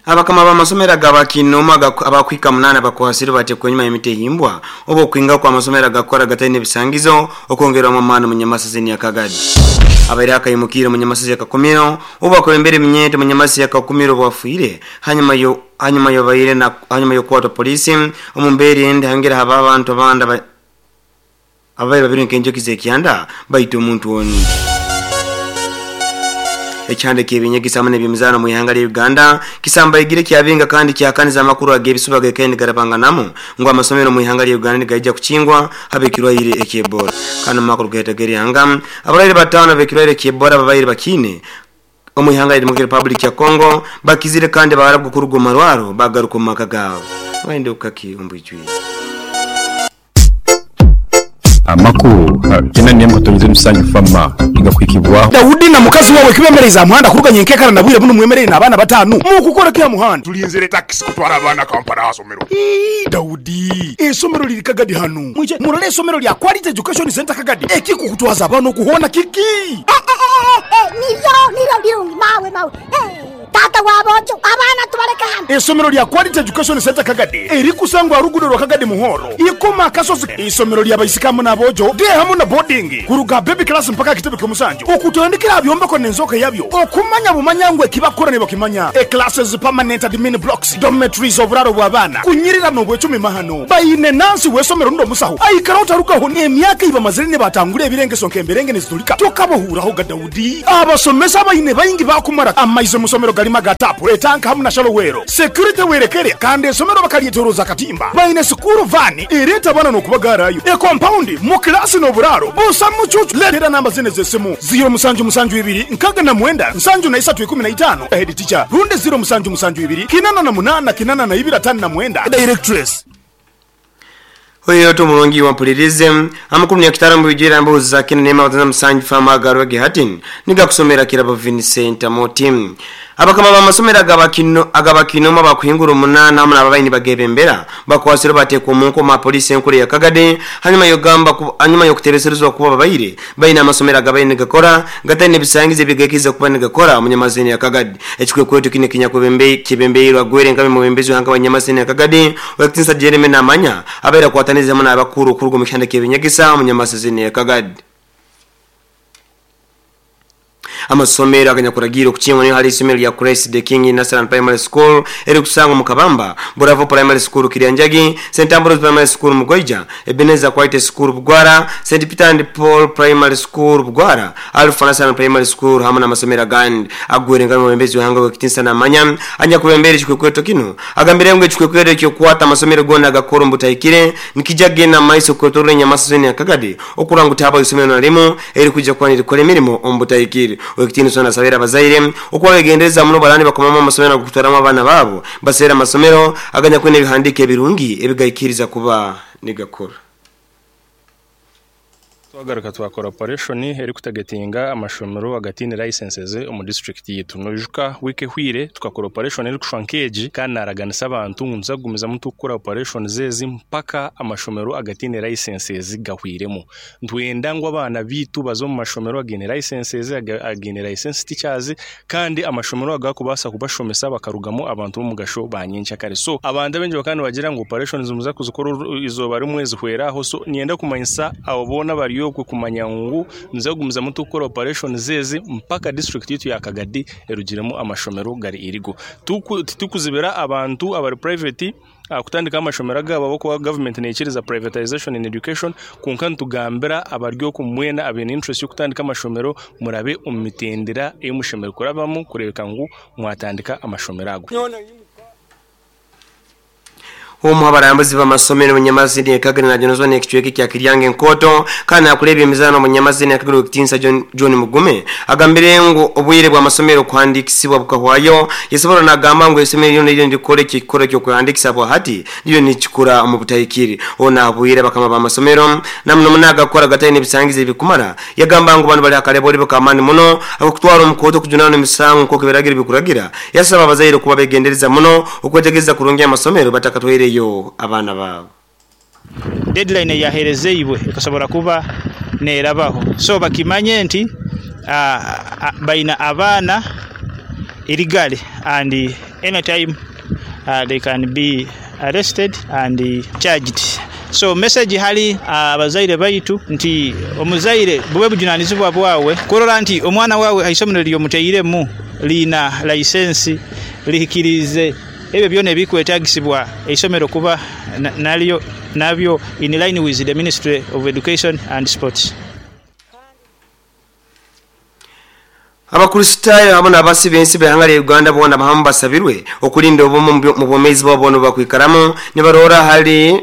Abakama b'amasomero ag'abakiinoomu abakuhika munaana bakwasirwe batekwa enyuma y'emitehimbwa oba okwingaho kw'amasomero agakukora gataine bisangizo okwongerwamu amaani omu Nyamasisi ya Kagadi. Abaire akaimukiire omu Nyamasisi ya Kakumiro obu bakulembera eminyeeto omu Nyamasisi ya Kakumiro obu afiire hanyuma hanyuma y'obaire hanyuma y'okukwatwa poliisi. Omu mbeera endi hayongera habaho abantu abandi ababaire babirwe nk'enjoki z'ekyanda baita omuntu onu. Ekihanda eky'eby'enyegesa hamu n'eby'emizaano omu ihanga lya Uganda kisambaigire kyabinga kandi kyahakaniza amakuru ag'ebisuba agaikaire nigarabanganamu ngu amasomero omu ihanga lya Uganda nigaija kukingwa habw'ekirwaire eky'Ebola. Kandi omu makuru gaitu ag'erihanga, abarwaire bataano ab'ekirwaire ky'Ebola ababaire bakiine omu ihanga lya Democratic Republic ya Congo bakizire kandi baarabwa kuruga omu marwaro bagaruka omu maka gaabo. Waenda okukaki omu bwijwire. Amakuru gena n'emwe katonyize Musanju Fama nigakuhikibwaho. Daudi na mukazi wawe kibemereize aha muhanda kuruga nyenkekara na bwire bunu mwemereire n'abaana batanu. Mukukora ki aha muhanda? Tulinzire takisi kutwara abaana Kampala aha somero. Ii, Daudi, eisomero liri Kagadi hanu. Mwije murole eisomero lya Quality Education Centre Kagadi. Ekikukutwaza abaana oku hoona kiki? Niryo, niryo lirungi mawe, mawe. Taata w'aboojo, abaana tubaleke hanu. Eisomero lya Quality Education Centre Kagadi erikusangwa aha ruguudo rwa Kagadi Muhoro, Ikoma Akasozi. Eisomero lya baisiki hamu n'aboojo, day hamu na boarding, kuruga aha baby class mpaka aha kitebe ky'omusanju. Okutandikira aha byombeko n'enzooka yabyo, okumanya bumanya ngu eki bakukora nibakimanya. E Classes, permanent admin blocks, dormitories, oburaaro bw'abaana, kunyirira n'obwecumi mahano. Baine nansi w'eisomero rundi omusaho aikara otarugaho n'emyaka ei bamazire nibatangura ebirengeso nk'emberenge nizitulika. Tokabahuurahoga Daudi. Abasomesa abaine baingi baakumara amaizi omu somero garimu aga taapu, etanka hamu na shalowero. Security werekere kandi esomero bakaryetoroza akatimba. Baine sikuuru vaani ereeta abaana n'okubagaarayo. Ekompaundi, mu kilaasi n'oburaaro busa mucuucu. Leetera namba zinu ez'esimu, ziiro musanju musanju ibiri nkaaga na mwenda nsanju na isatu ikumi na itaano, Head teacher, rundi ziiro musanju musanju ibiri kinana na munaana kinana na ibiri ataano na mwenda, Directress. Oyo oti omulungi iwe ompulirize. Amakulu ni akitara mubijwire emboozi za Kina Neema Watanza Musanju Farm agarwe ge hati nigakusomera Kirabo Vincent Amoti. Abakama b'amasomero agabakinomu abakuhingura omunaana hamu n'ababaire nibagebembera bakwasirwe bateekwa omu nkomo aha poliisi enkuru eya Kagadi hanyuma y'okugamba hanyuma y'okutebeserezibwa kuba babaire baine amasomero agabaire nigakora gataine bisangizo ebigaikiriza kuba nigakora omu Nyamazini ya Kagadi. Ekikwekweto kinu ekinyakwebembeirwe Agwere nka mwebembezi w'ihanga wa Nyamazini ya Kagadi, Ow'ekitiinisa Jeremy Namanya abaire akwatanirize hamu n'abakuru kuruga omu kihanda ky'ebinyegesa omu Nyamasazini ya Kagadi. Amasomero aganyakuragiirwe okukingwa niyo hali isomero lya Christ the King Nursery and Primary School erikusangwa omu Kabamba, Buravo Primary School Kiryanjagi, St Ambrose Primary School Mugoija, Ebenezer Quality School Bugwara, St Peter and Paul Primary School Bugwara, Alpha Nursery and Primary School hamu n'amasomero agandi. Agwire nka omwebembezi w'ihanga ow'ekitiinisa Namanya anyakwebembeire ekikwekweto kinu agambire ngu ekikwekweto eky'okukwata amasomero goona agakukora omu butahikire nikija kugenda omu maiso kwetoroora enyamaso zoona eya Kagadi okurora ngu tihabaho isomero na rimu erikwija kuba nirikora emirimo omu butahikire. Ow'ekitiinisa onu asabire abazaire okuba begendereza muno baraba nibakomamu amasomero ag'okutwaramu abaana baabo baseere amasomero aganyakwine ebihandiiko ebirungi ebigaikiriza kuba nigakora. Twagaruka twakora operation erikutagetinga amashomero agataine licenses omu disiturikiti yaitu. Noijuka wiiki ehweire tukakora operation erikushusha nk'egi kandi naraganisa abantu ngu nituza kugumizamu turikukora operations ezi mpaka amashomero agataine licenses gahweiremu. Nitwenda ngu abaana baitu baze omu mashomero againe licenses, againe licensed teachers kandi amashomero agakubaasa kubashomesa bakarugamu abantu b'omugasho ba nyenkyakare. So abantu abaingi bakaba nibagira ngu operations nimuza kuzikora eizooba rimwe zihwere aho. So niinyenda kumanyisa abo boona abari okwe kumanya ngu nituza kugumizamu turikukora operations ezi mpaka disiturikiti yaitu ya Kagadi erugiremu amashomero gari illegal. Titukuzibira abantu abari private kutandikaho amashomero agaabo ahabw'okuba gavumenti neikiriza privatization in education kwonka nitugambira abari okwo mwena abaine interest y'okutandika amashomero murabe omu mitendera ei mushemereire kurabamu kureebeka ngu mwatandika amashomero ago. Omu h'abarambuzi b'amasomero Munyamazini e Kagere najonozwa n'ekicweka ekya Kiryanga Enkooto kandi nakura eby'emizaano Munyamazini e Kagere Owekitiinisa John Mugume agambire ngu obwire bw'amasomero kuhandiikisibwa bukahwayo. Yasoborra nagamba ngu eisomero ryona eririyo nirikora ekikorwa eky'okwehandiikisa bwahati ririyo nirikikora omu butahikire. Onu ahabwire abakama b'amasomero na muno muno agakukora gataine ebisangizo ebikumara. Yagamba ngu banu bali hakareborebo k'amaani muno ak'okutwarwa omu kooti okujunaanwa emisango nk'oku ebiragiro bikuragira. Yasaba abazaire kuba begendereza muno okwetegereza kurungi amasomero batakatwaireyo abaana baabo. Deadline eyaherezeibwe ekasobora kuba nerabaho so bakimanye nti baine abaana. illegally and anytime they can be arrested and charged. So message hali abazaire baitu nti omuzaire bube bujunanizibwa bwawe kurora nti omwana wawe aisomero lyomutairemu liina license lihikirize ebyo byona ebikwetagisibwa eisomero kuba nalyo nabyo in line with the Ministry of Education and Sports. Abakristaayo abo n'abasi b'ensi b'ihanga lya Uganda boona bahamu basabirwe okulinda obumu mu bwomeezi bwabo boona obubakwikaramu nibarora hali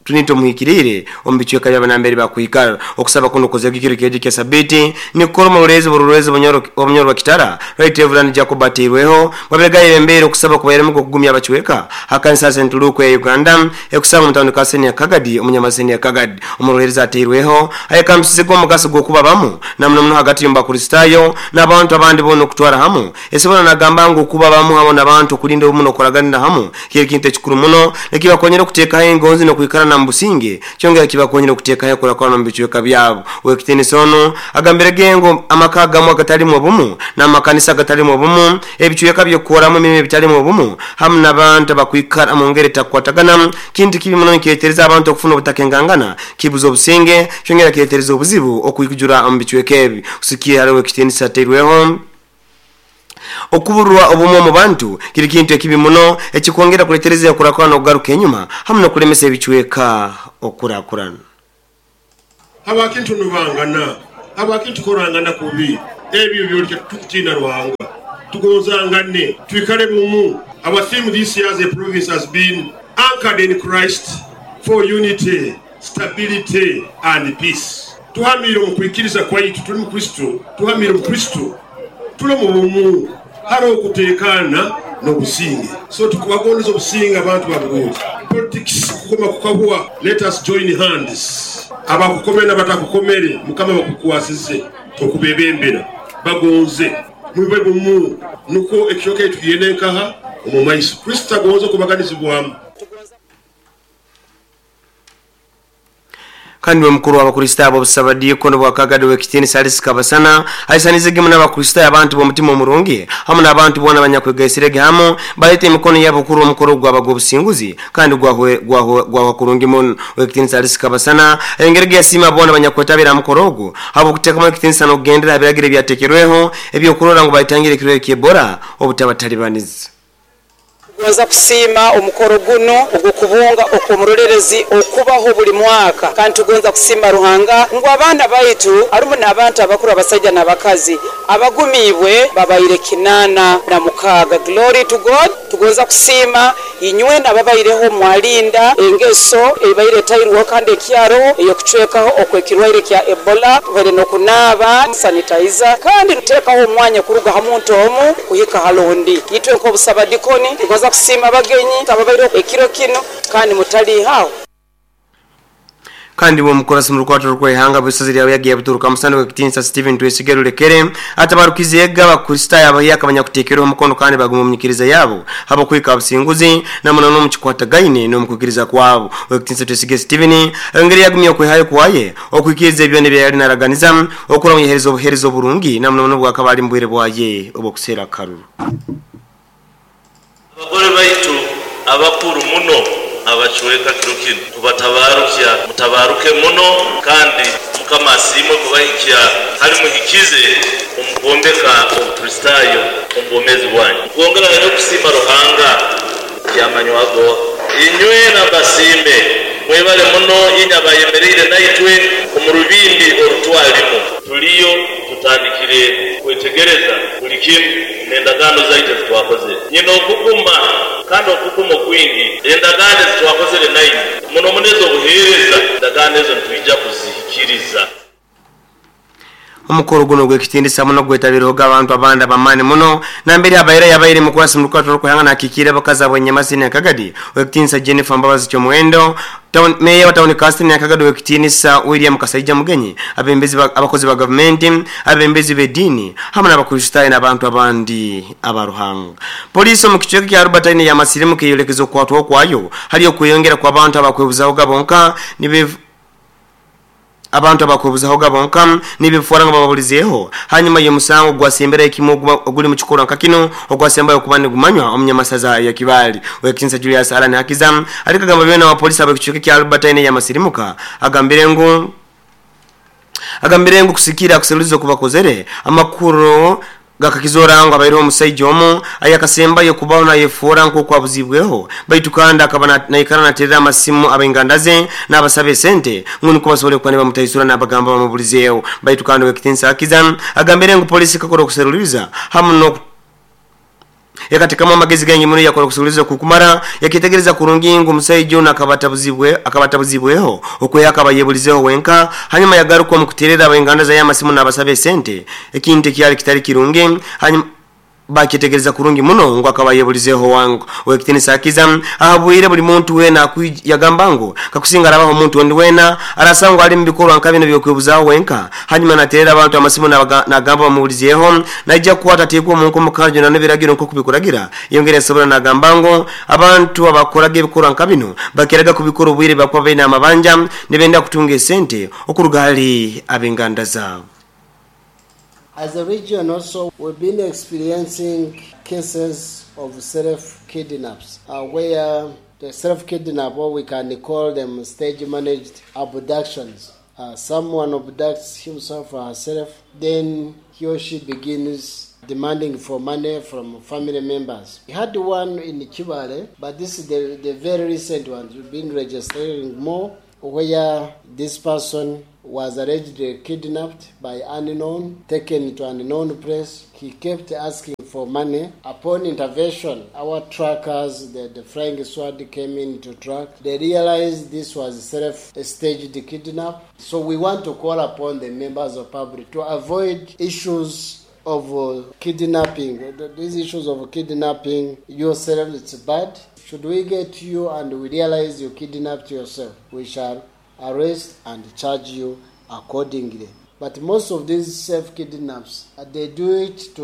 Trinity omuhikiriire omu bicweka by'abanambere bakwikara. Okusaba kuno kukozerwa ekiro kyejo kya sabiti nikukora omurorezi burorezi obunyoro bwa Kitara Right Reverend Jacob Ateirweho babegaye embere okusaba kubairemu okugumya abacweka hakanisa St. Luke ya Uganda ekusaba mu tawuni ka Senior Kagadi omunyamaseni ya Kagadi. Omurorezi Ateirweho ayekambisize omugaso gw'okuba bamu na muno muno hagati y'Abakristaayo n'abantu abandi boona okutwara hamu. Esobora nagamba ngu kuba bamu hamu n'abantu okulinda obumu n'okoraganira hamu kiri kintu ekikuru muno ekibakonyera okuteekaho engonzi n'okwikara na businge kyongera kibakonyera okuteekaho ekurakurana mu bicweka byabo. Wekitiinisa ono agambire gengo amaka agamu agatalimu obumu n'amakanisa agatalimu obumu, ebicweka by'okukoramu emirimu ebitalimu obumu hamu n'abantu abakwikara mu ngeri etakukwatagana kintu kibi muno nikireetereza abantu okufuna obutakengangana kibuza obusinge kyongera kireetereza obuzibu okwikujura omu bicweka ebi. Kusikia hariho ekitiinisa ateirweho okuburwa obumu omu bantu kiri kintu ekibi muno ekikwongera kuletereza okurakurana okugaruka enyuma hamu n'okulemesa ebicweka okurakurana. Abakintu nubangana, abakintu korangana kubi, ebyo byoleka tukutina Ruhanga. Tugonzangane, twikale bumu. Our theme this year as a province has been anchored in Christ for unity, stability and peace. Tuhamire omu kwikiriza kwaitu, tuli mu Kristo, tuhamire mu Kristo, tuli mu bumu, hariho okuteekana n'obusinge. So tukubagondeza obusinge abantu babugodi. Politics kukoma kukahwa, let us join hands. Abakukomere n'abatakukomere, Mukama bakukwasize okubebembera, bagonze mube bumu, nukwo ekicweka ekitu kigende nkaha omu maiso. Kristo agonze okubaganizibwamu. Kandi we mukuru w'Abakristaayo b'obusabadiikono bwa Kagadi w'ekitiinisa Alice Kabasana aisanizege muno Abakristaayo abantu b'omutima omurungi hamu n'abantu boona abanyakwegaisirege hamu baleeta emikono yabo kurora omukoro gwaba gw'obusinguzi kandi gwahwa kurungi muno. W'ekitiinisa Alice Kabasana ayongerege yasiima boona abanyakwetabira aha mukoro ogu habw'okuteekamu ekitiinisa n'okugendera aha biragiro ebyateekerweho eby'okurora ngu baitangira ekirwaire ky'Ebola obutabatalibaniza. Tugonza kusiima omukoro gunu ogw'okubunga okw'omurolerezi okubaho buli mwaka. Kandi tugonza kusiima Ruhanga ngu abaana baitu harumu n'abantu abakuru abasaija n'abakazi abagumiibwe babaire 86. Glory to God. Tugonza kusiima inywena ababaireho mwalinda engeso ebaire etairweho kandi ekyaroho ey'okucwekaho okw'ekirwaire kya Ebola. Tubaire n'okunaaba, sanitizer, kandi tuteekaho omwanya kuruga ha muntu omu kuhika hali ondi. Itwe nk'obusabadikoni tugonza kusiima abagenyi ababaireho ekiro kinu kandi mutaliihaho. Kandi we omukurasi mu rukwato rw'eihanga bw'isaza lya Buyagi yabuturuka musana w'ekitiinisa Stephen Twesige Rulekere atabarukize ega Abakristaayo abahyaka abanyakuteekerweho omukono kandi baguma omu nyikiriza yabo habw'okuhika businguzi na muno n'omu kikwatagaine n'omu kwikiriza kwabo. Ow'ekitiinisa Twesige Stephen ayongere yagumya okwehayo kwaye okwikiriza ebyona ebi yali naraganiza okura ngu yaheereza obuheereza oburungi na muno muno obwakaba ali mu bwire bwaye obw'okuseera akaruru. Abagore baitu abakuru muno abacweka kiro kinu kubatabarukya, mutabaruke muno kandi Mukama asiimwe kubahikya hali muhikize omu kwombeka Obukristaayo omu bwomeezi bwanyu. Nkwongera nanyowe kusiima Ruhanga kyamanywago. Inywena mbasiime, mwebale muno inywe abayemereire naitwe omu rubimbi orutwalimu. Tuliyo tutandikire kwetegereza buli kimu n'endagaano zaitu ezitwakozere. Nyine okuguma kandi okuguma okwingi. Endagaano ezitwakozere nainywe, muno muno ez'obuheereza, endagaano ezo nitwija kuzihikiriza. Omukoro guno ogw'ekitiinisa muno gwetabirwehoga abantu abandi ab'amaani muno nambere habaire yabaire mukwasi mu rukwato rw'okwehanga nakikiire abakazi ab'Enyamasi Nyakagadi ow'ekitiinisa Jennifer Mbabazi Kyomuhendo, Town Meeya wa Tawuni Kasita Nyakagadi ow'ekitiinisa William Kasaija Mugenyi, abembezi ba abakozi ba gavumenti, abembezi b'ediini hamu n'Abakristaayo n'abantu abandi aba Ruhanga. Poliisi omu kicweka kya Albertine yamasirimuka eyolekeza okukwatwaho kwayo hali okweyongera kw'abantu abakwebuzahoga bonka nibe Abantu abakwebuzahoga bonka nibifora ngo bababulizeho hanyuma y'omusango gwasembera ekimu oguli mu kikorwa nka kino ogwasembayo kuba nigumanywa omunyamasaza ya Kibali wekinsa Julius Alani Hakiza alikagamba byona wa polisi abakichuke kya Albertine ya masirimuka agambire ngu kusikira kuserulizo kubakozere amakuru gakakizora ngo abairo omusajja omu ayakasembayo kubaho nayefora nko kwabuzibweho baitu kandi akaba naikara naterera amasimu abengandaze n'abasabe sente ngo niko basobole kuba bamutaisura n'abagamba bamubulizeyo baitu kandi wekitinsa Hakiza agambire ngo polisi kakora okuseruliza hamu no yakatekamo amagezi gangi muno yakora kusuliza kukumara yakitegereza kurungi ngo omusajja ono akabatabuzibweho okwe akabayebulizeho wenka hanyuma yagaruka mu kuterera abenganda za yamasimu n'abasabe sente ekintu kyali kitali kirungi hanyuma bakitegereza kurungi muno ngo akabayebulizeho wangu wekitinisa Hakiza ahabwire buli muntu wena yagamba ngo kakusinga arabaho omuntu wendi wena arasangwa ali mu bikorwa nka bino byokwebuzaho wenka hanyuma naterera abantu amasimu nagamba bamubulizeho najja kukwata ateekwa omu nkomo kandi n'ebiragiro nko kubikuragira yongera asobora nagamba ngo abantu abakoraga ebikorwa nka bino bakeraga kubikora obwire bakuba baine amabanja nibenda kutunga esente okuruga hali ab'enganda zaabo. As a region also, we've been experiencing cases of self-kidnaps, where the self-kidnap, or we can call them stage-managed abductions. Someone abducts himself or herself, then he or she begins demanding for money from family members. We had one in Kibale, but this is the very recent one. We've been registering more, where this person was allegedly kidnapped by unknown, taken to an unknown place. He kept asking for money. Upon intervention, our trackers, the flying squad came in to track. They realized this was self-staged kidnap. So we want to call upon the members of public to avoid issues of kidnapping. These issues of kidnapping yourself, it's bad. Should we get you and we realize you kidnapped yourself, we shall arrest and charge you accordingly. But most of these self-kidnaps, they do it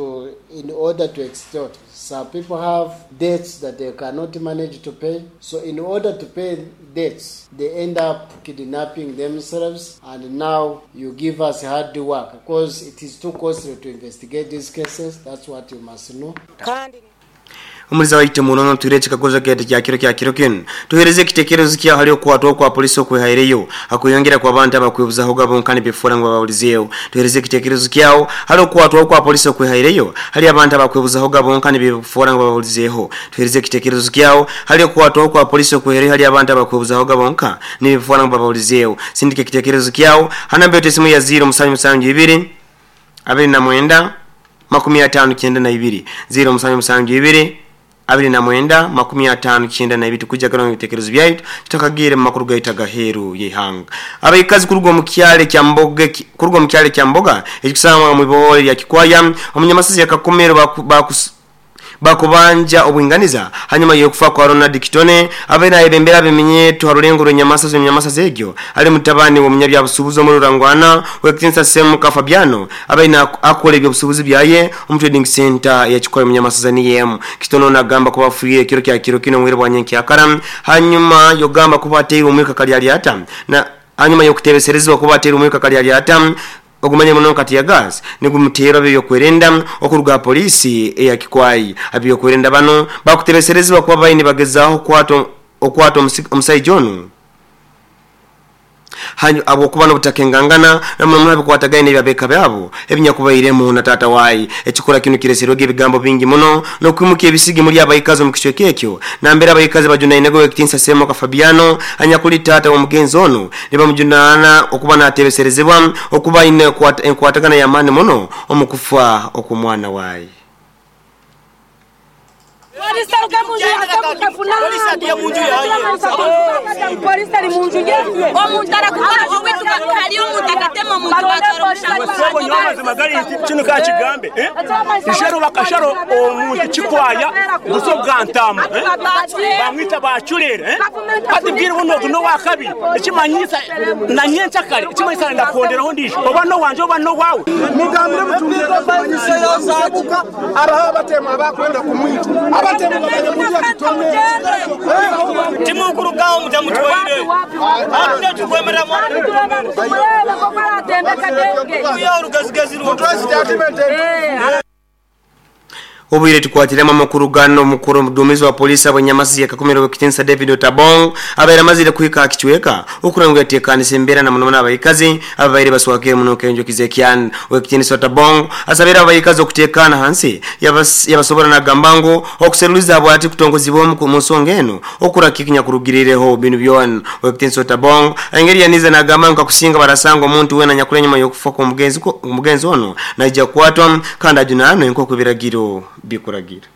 in order to extort. Some people have debts that they cannot manage to pay. So in order to pay debts, they end up kidnapping themselves. And now you give us hard work because it is too costly to investigate these cases. That's what you must know. Umuliza waite munono tuireche kagoza kete kya kiro kya kiro kinu. Tuhereze kitekerezo kia hali okuwatwa kwa polisi okwehaireyo. Hakuyongera kwa abantu abakwebuzaho gabonkani bifora ngo babaulizeyo. Tuhereze kitekerezo kyao hali okuwatwa kwa polisi okwehaireyo. Hali abantu abakwebuzaho gabonkani bifora ngo babaulizeho. Tuhereze kitekerezo kyao hali okuwatwa kwa polisi okwehaireyo. Hali abantu abakwebuzaho gabonka ni bifora ngo babaulizeyo. Sindike kitekerezo kyao hanambe yote ya 0 7 7 2 29 92 0 7 7 2 29 52 tukujja kana ibitekerezo byaitu tutakagire mu makuru gaita gaheru yehanga abayikazi kurugwa mu kyale kya mboga kurugwa mu kyale kya mboga ekikusanga mu ibole lya Kikwaya omunyamasisi yakakomero bakubanja obwinganiza hanyuma yokufa kwa Ronald Kitone abena ebembera bimenyeto harulengo rwenyamasa zenyamasa zegyo ali mutabani wo munyabya busubuzo mu rurangwana wekitinsa Semuka Fabiano abena akole ebyo busubuzi byaye omu trading center ya Kikwaya munyamasa zaniyem Kitone nagamba ko bafuye kiro kya kiro kino mwire bwanyenki akara hanyuma yogamba kuba ateye umwika kali aliata na hanyuma yokutebeserezwa kuba ateye umwika kali aliata ogumanye muno kati ya gas nigumutera byo kwerenda okuruga polisi eya Kikwai abyo kwerenda bano bakutebeserezwa kuba bayini bagezaho kwato okwato omusajja ono hanyu abo kuba nobutakengangana namwe mulabe kwatagaine byabeka byabo ebinyakubairemu na tata wayi ekikora kino kireserwege ebigambo bingi muno nokwimuka ebisigi muri abayikazi mu kichweke ekyo nambera abayikazi bajunaine ekitinsa Semuka Fabiano anyakuli tata wa mugenzi ono nibamujunana okuba natebeserezebwa okuba ine enkwatagana ya mani muno omukufa okumwana wayi. Kino kakigambe ishero bakasharo omuntu Kikwaya buso bwantama bamwita bachurere ati bwira buno no wakabiri ekimanyisa nanyencha kale ekimanyisa ndakonderaho ndisho oba no wanje oba no wawe mugambire mutumire abaha abatema abakwenda kumwita abatema. Timukurugaho mutamutwaire ate tukwemera Obwire tukwatiremu amakuru gano. Omukuru omuduumizi wa polisi abanyamasi yakakumira owekitinsa David Otabong abaire amazire kuhika akichweka okuranga yatekanisa embeera na muno abayikazi ababaire baswakire muno kenjokize ekyan. Owekitinsa Otabong asabira abayikazi okutekana hansi yabasobora nagamba ngu okuseruliza bwati kutongozibwa mu nsonga eno okurakikinya kurugirireho binu byona. Owekitinsa Otabong engeri yaniza nagamba ngu kakusinga barasanga omuntu wena nyakule nyuma y'okufa kw'omugenzi ono naija kukwatwa kandi ajunanwe nk'oku ebiragiro bikuragira.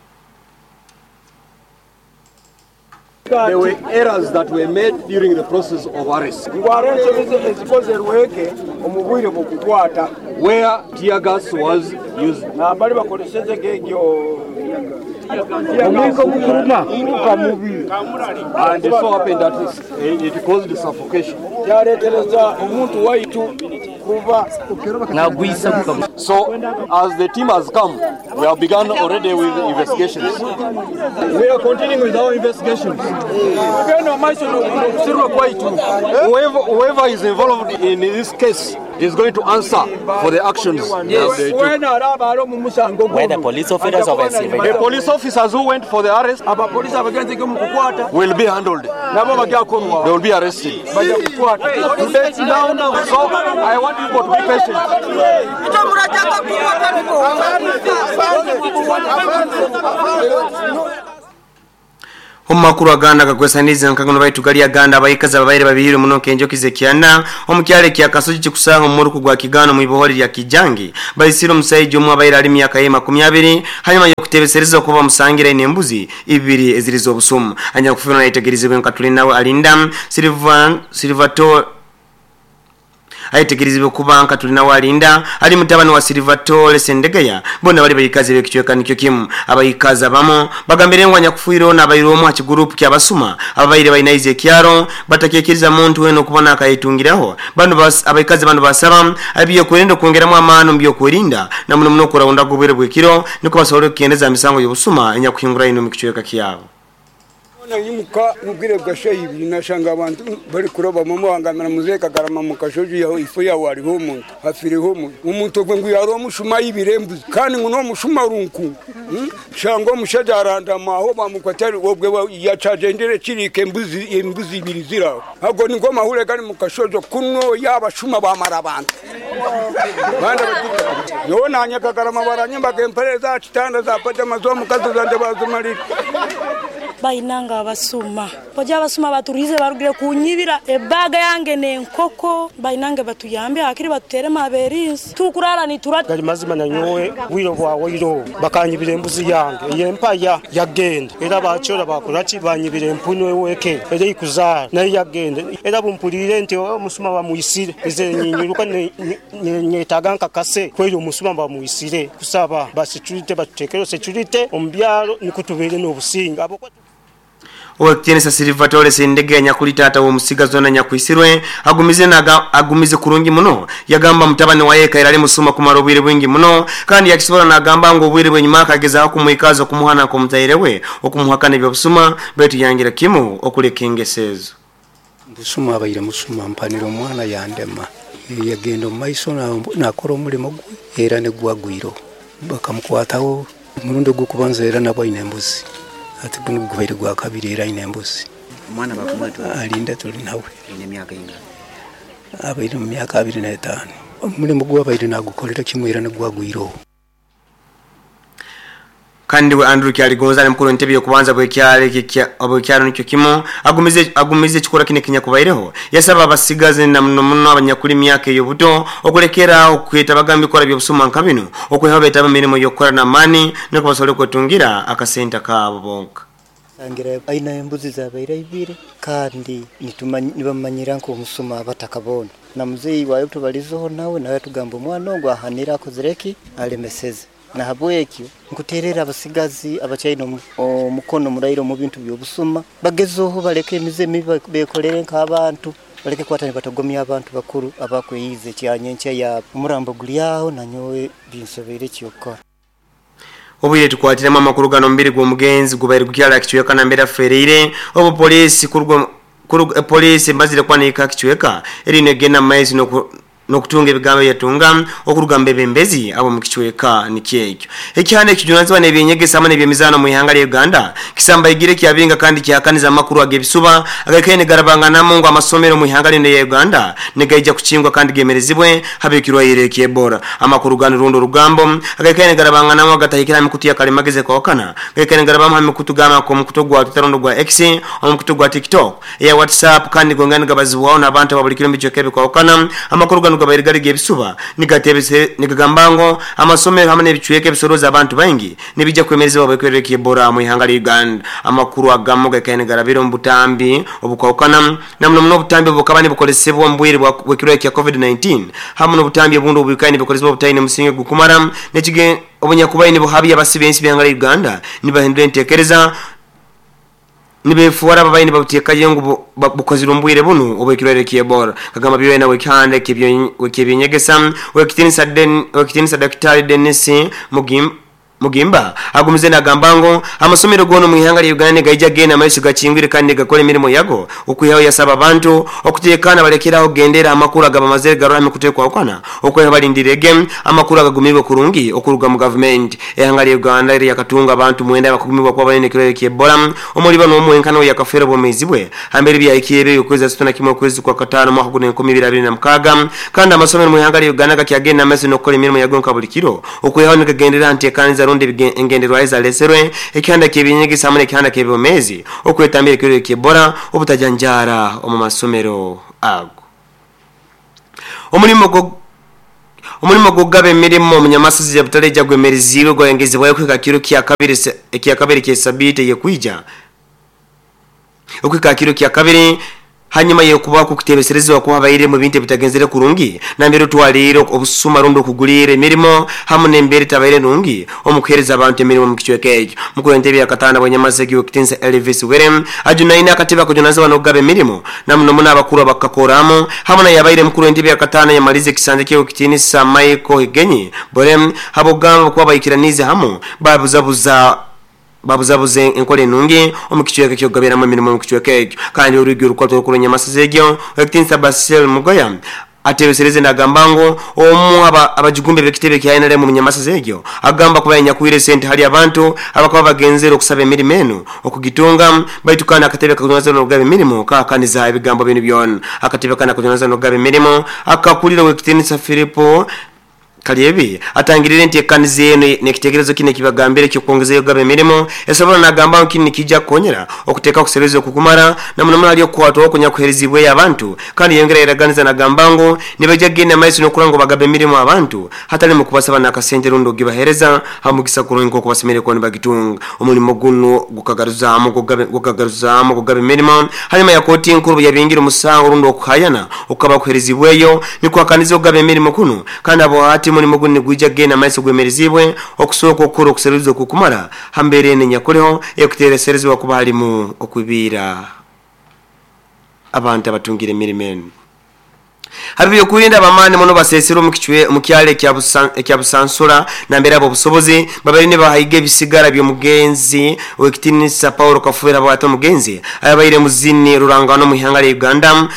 There were errors that were made during the process of arrest. Where tear gas was used. And it so happened that it caused suffocation. So, as the team has come, we have begun already with investigations. We are continuing with our investigations. Whoever is involved in this case is going to answer for the actions. Yes. Where the police officers of The police officers who went for the arrest will be handled. They will be arrested. Today, now, so I want people to be patient. Omumakuru aganda gakwesaniza nkagono baitu gali aganda abayikazi ababaire babihire muno kenjokize kyana omukyalo kya Kasoji kikusanga omuruku gwa Kigano mu ibohori lya Kijangi bayisire omusajja omwe abaire ali myaka ye 20 hanyuma yokutebesereza okuba musangira ine embuzi ibiri ezirizo obusumu anya kufuna nayitegerizibwe nkatuli nawe alinda Silvato aitegerizibwe kuba tulina walinda ali mutabani wa Silvatore Sendegeya bona bali bayikazi bekichweka nikyo kimu. Abayikazi abamo bagambire ngo nyakufuiro na abayiro mu kigurupu kyabasuma ababaire bayinaize ekyaro batakekiriza muntu weno kubona akayitungiraho bano abayikazi bano basaba abiyo kwerinda kwongeramu amano mbyo kwerinda na muno muno kurawunda gubwire bwekiro niko basobole kugendeza misango y'obusuma enyakuhingura ino mu kichweka kyabo. Nyimuka mubwire bwa ibiri nashanga abantu bari kuroba mama wangamira muzeka garama mukashoji yaho ifu yaho ariho umuntu hafiriho umuntu gwe ngo yaro mushuma y'ibirembuzi kandi ngo no mushuma runku shango mushaja arandama aho bamukwatari obwe yacagendere kirike embuzi embuzi ibiri ziraho hago ni ngoma hure gari mukashojo kuno yabashuma bamara abantu banda yo nanyaka garama baranyimba gempere za kitanda za pajama zo mukazi zanje bazumarira bainanga abasuma boja abasuma baturize barugire kunyibira ebaga yange nenkoko bainanga batuyambe akiri batutere maberinsi tukurara ni turata gali mazima nanyowe wiro bwawe iro bakanyibira embuzi yange yempaya yagenda era bachora bakorachi banyibira empuno weke era ikuzara nayo yagenda era bumpulire nti omusuma bamuisire ize nyiruka nyetaga nkakase kweri omusuma bamuisire kusaba ba security batutekero security ombyalo nikutubere n'obusinga. Owekitinisa Silvatore Sendege nyakuli tata wo musigazo na nyakuisirwe agumize naga agumize kurungi muno yagamba mutabani wa yeka irali musuma kumara obwire bwingi muno kandi yakisobora nagamba ngo obwire bwenyuma akageza kumuikazo kumuhana kumutairewe okumuhakana ebyobusuma betu yangira kimu okuleka engesezo. Busuma abaire musuma mpanira omwana yandema yagenda mu maiso nakora omulimo gwe era ne gwagwiro bakamukwataho omurundi gw'okubanza era nabo aine embuzi ati buno gubaire gwa kabiri era aine embuzi. Omwana bakumweta alinda tuli nawe aine emyaka ingana abaire mu myaka 25 omulimu gwabaire nagukolera kimwe era ne gwagwiro. Kandi we Andrew Kyaligonza mukuru entebe yokubanza bwekyale bwekyalo nikyo kimu agumize ekikora kine kinya kubaireho yasaba abasigazi na muno muno abanyakuli myaka eyobuto okulekera okweta bagambi kola byobusuma nka bino okweha betaba mirimo yokukora na mani niko basobole kwetungira akasenta kaabo bonka. Angira aina embuzi zabaire ibiri kandi nibamanyira nko omusuma abatakabona na muzeyi wayo tubalizoho nawe tugamba omwana ogwo ahanira akozireki alemeseze. Na habwekyo nkuterera abasigazi abachaino omukono murairo mu bintu byobusuma bagezoho baleke emize mibi bekolere nk'abantu baleke kwatani batagomya abantu bakuru abakweyize kyanyenche ya umurambo gulyaho nanyowe binsobere kyokora. Obwire tukwatiremu amakuru gano omubiri gw'omugenzi gubaire gukyali akicweka nambere afereire obu poliisi kuruga kuruga poliisi emazire kwanika akicweka eriyo negenda mu maiso n'okutunga ebigambo ebyatunga okuruga mu bebembezi abo mu kicweka nikyekyo. Ekihanda ekijunanizibwa n'ebyenyegesa hamwe n'ebyemizaano mu ihanga lya Uganda kisambaigire kyabinga kandi kyahakaniza amakuru ag'ebisuba agaikaire nigarabanganamu ngu amasomero mu ihanga linu erya Uganda nigaija kukingwa kandi gemerezibwe habw'ekirwaire eky'Ebola. Amakuru ganu rundi orugambo agaikaire nigarabanganamu agatahikire ha mikutu ya kalimagezi ekwahukana gaikaire nigarabamu ha mikutu gamba nk'omukutu ogwa Twitter rundi ogwa X, omukutu gwa TikTok, eya WhatsApp kandi nigongera nigabazibwaho n'abantu aba buli kiro omu bicweka ebikwahukana. Amakuru ganu gabaire gali g'ebisuba nigatebese nigagamba ngu amasomero hamu n'ebicweka ebisorooza abantu baingi nibija kwemerezebwa habw'ekirwaire ky'Ebola mu ihanga lya Uganda. Amakuru agamu gaikaire nigarabira omu butambi obukwahukana na muno muno obutambi obukaba nibukozesebwa omu bwire bw'ekirwaire kya COVID-19 hamu n'obutambi obundi obwikaire nibukozesebwa obutaine musingi gukumara n'ekige obunyakubaire nibuhabya abasi b'ensi b'ihanga lya Uganda nibahindura entekereza nibefuwara ababaire nibabuteekayo ngu bukozirwe omu bwire bunu obw'ekirwaire ky'Ebola. Kagamba byona w'ekihanda eky'ebyenyegesa Owekitinisa Daktari Denis Mugimba agumize nagamba ngu amasomero goona omu ihanga lya Uganda nigaija genda maiso gakingwire kandi nigakora emirimo yago okwihaho yasaba abantu okutekana balekeraho kugendera amakuru agabamazire garora ha mikutu ekwahukana okwihaho balindirege amakuru agagumirwe kurungi okuruga mu gavumenti. Ihanga lya Uganda lyakatunga abantu 9 abakugumibwa kuba baine ekirwaire ky'Ebola omuli banu omu wenka nuwe yakafeera obwomeezi bwe hambere byahikire ebyo okwezi 31 okwezi kwa kataano mwaka guno 2026 kandi amasomero mu ihanga lya Uganda gakyagenda maiso n'okukora emirimo yago nka buli kiro okwihaho nigagendera ha nteekaniza rundi engenderwaho ezaleserwe ekihanda ky'ebyenyegesa hamwe n'ekihanda ky'ebyomeezi okwetambira ekirwaire ky'Ebola obutajanjaara omu masomero ago. Omulimo gw'okugaba emirimo omu Nyamasozi ya Butaleja gwemereziibwe gwayongezebwayo kuhika kiro kyakabiri ky'esabiiti eyekwija okuhika ha kiro kyakabiri hanyuma y'okubaho kw'okuteebeserezebwa kuba habairemu ebintu ebitagenzere kurungi nambere otwaliire obusuma rundi okuguliira emirimo hamu n'embeera etabaire nungi omu kuheereza abantu emirimo omu kicweka ekyo. Mukuru w'entebe ya kataano bw'Enyamasegi Ow'ekitiinisa Elvis Were ajunaine akatebe akajunanizibwa n'okugaba emirimo na muno muno abakuru abakakoramu hamu n'ayabaire mukuru w'entebe ya kataano yamalize ekisanja kye Ow'ekitiinisa Michael Higenyi Bore habw'okugamba kuba baikiraniize hamu babuzabuza babuzabuza enkora enungi omu kicweka eky'okugabiramu emirimo omu kicweka ekyo. Kandi orwigi orukwata orukuru rw'Enyamasozi egyo, Ow'ekitiinisa Basil Mugoya atebesereze nagamba ngu omu abajugumbe b'ekitebe kya NRM omu Nyamasozi egyo agamba kuba yanyakwire sente hali abantu abakaba bagenzere okusaba emirimo enu okugitunga baitu kandi akatebe akakujunanizibwa n'okugaba emirimo kahakaniza ebigambo binu byona. Akatebe kanu akajunanizibwa n'okugaba emirimo akakulira Ow'ekitiinisa Philip Kalyebi atangirire entekaniza enu n'ekitekerezo kinu ekibagambire eky'okwongezayo kugaba emirimo esobora nagamba ngu kinu nikiija kukonyera okuteekaho okuseruliiriza okukumara na muno muno hali okukwatwaho okunyakuheerezibweyo abantu kandi yayongera yaraganiza nagamba ngu nibaija kugenda maiso n'okurora ngu bagaba emirimo abantu hatali mukubasaba n'akasente rundi okugibaheereza ha mugisa kurungi nk'oku basemeriire kuba nibagitunga. Omulimo gunu gukagaruzaamu kugaba emirimo hanyuma ya kooti enkuru obuyabingire omusango rundi okuhayana okukaba kuheerezibweyo nikuhakaniza okugaba emirimo kunu kandi habwahati omulimo gunu nigwija kugenda maiso gwemerezibwe okusooka okukora okuseruliiriza okukumara ha mbeera enu enyakuliho ekuteereserezebwa kuba halimu okwibiira abantu abatungire emirimo enu. Ha by'okwerinda ab'amaani muno baseeserwe omu kyaro ekya Busansura nambere ab'obusobozi babaire nibahaiga ebisigara by'omugenzi ow'ekitiinisa Paul Kafeero habwati omugenzi ayabaire muzini ruranganwa omu ihanga lya Uganda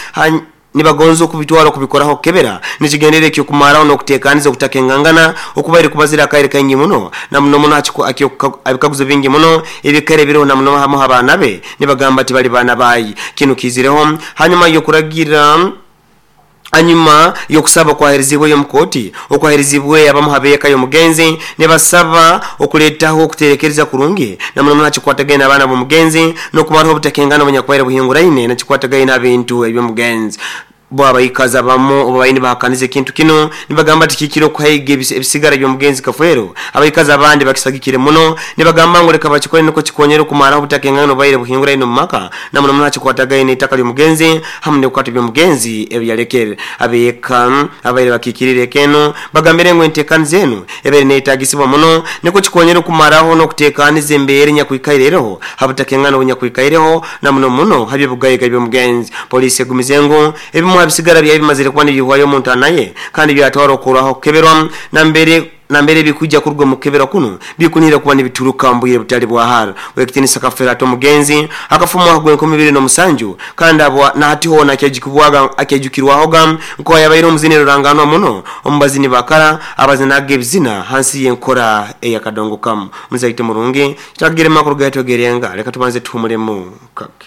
nibagonza okubitwara okubikoraho kukebera n'ekigendererwa eky'okumaraho n'okuteekaniza okutakengangana okubaire kubazire akaire kaingi muno na muno muno habikaguzo bingi muno ebikaire biroho na muno hamu h'abaana be nibagamba tibali baana baye. Kinu kiizireho hanyuma y'okuragira hanyuma y'okusaba okwaheerezibweyo omu kooti okwaheerezibweyo abamu ha b'eka y'omugenzi nibasaba okuleetaho okuterekereza kurungi na muno muno ha kikwatagaine n'abaana b'omugenzi n'okumaraho obutakengana obunyakubaire buhinguraine na kikwatagaine ha bintu eby'omugenzi. Bo abaikazi abamu obu babaire nibahakaniza ekintu kinu nibagamba tikihikire okuhaiga ebisigara by'omugenzi Kafeero, abaikazi abandi bakisagikire muno nibagamba ngu leka bakikole nukwo kikonyere okumaraho obutakengana obubaire buhinguraine omu maka na muno muno ha kikwatagaine n'itaka ly'omugenzi hamu n'ebikwato by'omugenzi ebi yalekere. Ab'eka ababaire bakiikiriire eka enu bagambire ngu enteekaniza enu ebaire neyetagisibwa muno nukwo kikonyere okumaraho n'okuteekaniza embeera enyakwikaire eroho ha butakengana obunyakwikaireho na muno muno ha by'obugaiga by'omugenzi. Poliisi egumize ngu ebimu ha bisigara byayo bimazire kuba nibiihwayo omu ntaana ye kandi byatwarwa okukorwaho okukeberwa nambere nambere bikujja kuruga mu kukebera kuno bikunira kuba nibituruka mu bwire butali bwa hara. Wekitinisa Kafera ati omugenzi akafa mu mwaka gw'enkumi ibiri n'omusanju kandi abo nahati hoona akyajukirwahoga nko yabaire omuzini ruranganwa muno omu bazini bakara abazinaga ebizina hansi y'enkora eyakadongo kamu. Muzaite murungi kitagire makuru gaitu gerenga leka tubanze tuhumulemu kake.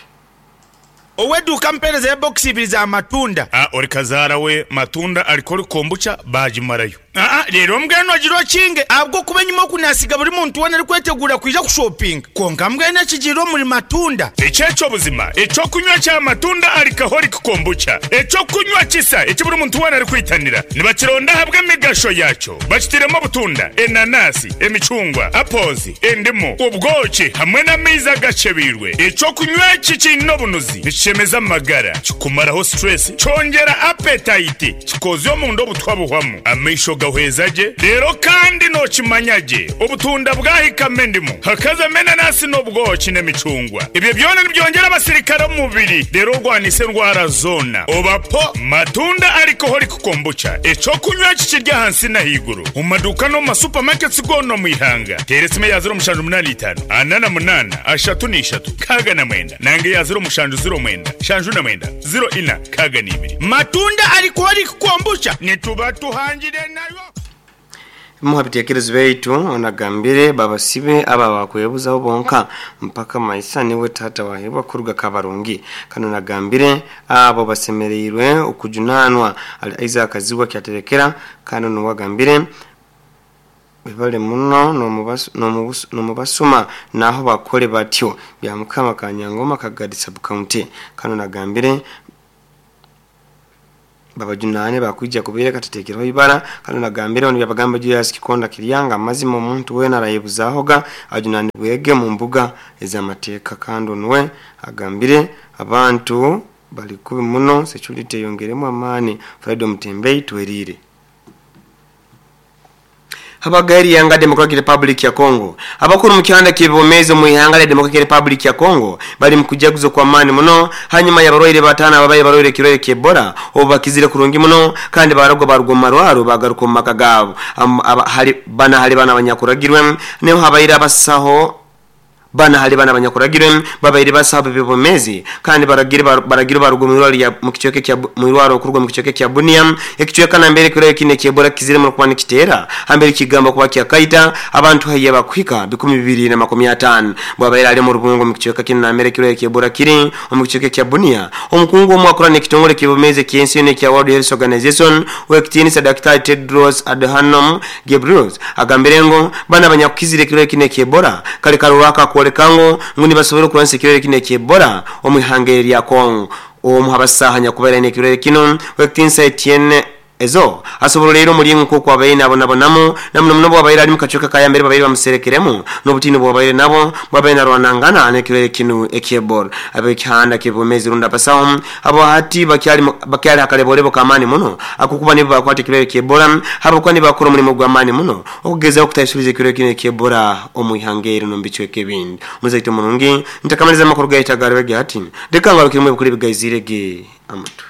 Ow'eduuka mpeereza ebokisi ibiri za matunda. A Ori kazaara we matunda alikora kombucha baagimarayo. Aa Reero mbwenu ogira okinge ahabw'okuba enyima oku naasiga buri muntu weena arikweteguura kwija kushopinga. Kwonka mbwenu ekigiire omuri matunda. Eki eky'obuzima eky'okunywa kya matunda alcoholic kombucha. Eky'okunywa kisa eki buri muntu weena arikwitanira. Nibakironda ahabw'emigasho yaakyo. Bakitairemu obutunda, enanasi, emicungwa, apples, endimu, obwoki hamwe n'amaizi agakyebeirwe. Eky'okunywa eki kiine obunuzi, nikishemeza amagara, kikumaraho stress, kyongyera appetite, kikoozya omunda obutwa buhwamu, amaisho gahweza gye, reero kandi nookimanya gye obutunda bwahikamu endimu, hakazamu enanasi n'obwoki n'emicungwa. Ebyo byona nibyongyera abasirikare omu mubiri reero orwanise endwara zoona. Oba po Matunda Alcoholic Kombucha, eky'okunywa eki kiri ahansi n'ahaiguru omu maduuka n'omu ma supermarkets goona omu ihanga. Teera esimu eya 0785 48 33 69 nanga eya 0709 79 04 62. Matunda Alcoholic Kombucha nituba tuhangire nayo. Bimu ha bitekerezo byaitu onagambire babasibe aba bakwebuzaho bonka mpaka maisa niwe tata wahebwa kuruga Kabarungi. Kano nagambire abo basemereirwe okujunanwa ali Isaac Kazibwa Kyaterekera. Kano nuwagambire bibale muno nomubasuma naho bakole batyo bya Mukama Kanyangoma Kagadi sub county. Kano nagambire babajunane bakwija kubireka tutekereho ibara. Kano nagambire ono byabagamba Julius Kikonda Kiryanga amazima omuntu wena arayebuzahoga ajunane bwege mu mbuga ez'amateeka. Kandi onwe agambire abantu bali kubi muno security yongeremu amani. Fred Mutembei twerire. Habagairi yanga Democratic Republic ya Congo. Abakuru mu kihanda kibomeze mu ihanga lya Democratic Republic ya Congo bali mu kujaguzo kwa mani muno hanyuma y'abarwaire batana ababaye barwaire kirwaire ky'Ebola obu bakizire kurungi muno kandi baragwa barugwa mu marwaro bagaruka mu maka gabo. Hali bana hali bana abanyakuragirwe niho habaire abasaho bana hali bana abanyakuragirwe babaire basaba bibomezi kandi baragire baragire barugwa mu irwaro lya mu kichweke kya mu irwaro kurugwa mu kichweke kya Bunia ekichweka na mbere kirwaire kine ky'Ebola kizire mu kuba nikitera hambere kigamba kuba kyakaita abantu haye bakwika 2025 bwabaire ali mu rubungo mu kichweka kine na mbere kirwaire ky'Ebola kiri mu kichweke kya Bunia. Omukungu omwe akorana ekitongole kibomeze ky'ensi yona ekya World Health Organization wekitiinisa Dr. Tedros Adhanom Ghebreyesus agambire ngo bana abanyakukizire kirwaire kine ky'Ebola kale karuraka kwoleka ngo nibasobora okurwanisa ekirwaire kino eky'Ebola omu ihanga erya Congo. Omu habasaha nyakubaire n'ekirwaire kino wekitiinisa Etienne Ezo asobola leero omulingo nk'oku abaire nabonabonamu na muno muno bwabaire ali mu kacweka ka yambere babaire bamuserekeremu n'obutiini bwabaire nabo bwabaire narwanangana n'ekirwaire kinu eky'Ebola. Ab'ekihanda ky'ebwomezi rundi abasaho abo hati bakyali hakalebolebo k'amaani muno akukuba nibo bakwata ekirwaire ky'Ebola habwokuba nibakora omulimo gw'amaani muno okugezaho okutaisuliza ekirwaire kinu eky'Ebola omu ihanga eri n'omu bicweka ebindi. Muzaito murungi ntakamaliza amakuru gaitu agaribege hati leka ngarukiremu ebikuru ebigaizirege amatu.